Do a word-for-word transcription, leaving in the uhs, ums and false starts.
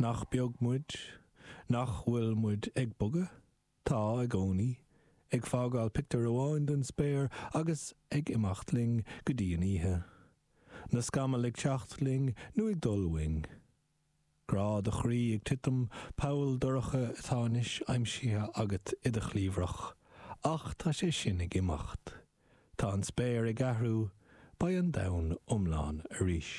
Nach beag muid, nach bhfuil muid ag bogadh, tá i gcónaí, ag fágáil pictiúr amháin den spéir agus ag imeacht linn go dtí an oíche. Na scamaill ag teacht linn nó ag dul uainn. Grá do chroí ag titim poll dorcha atá anois aimsithe agat i do chliabhrach, ach tá sé sin ag imeacht. Tá an spéir ag athrú, beidh an domhan iomlán arís.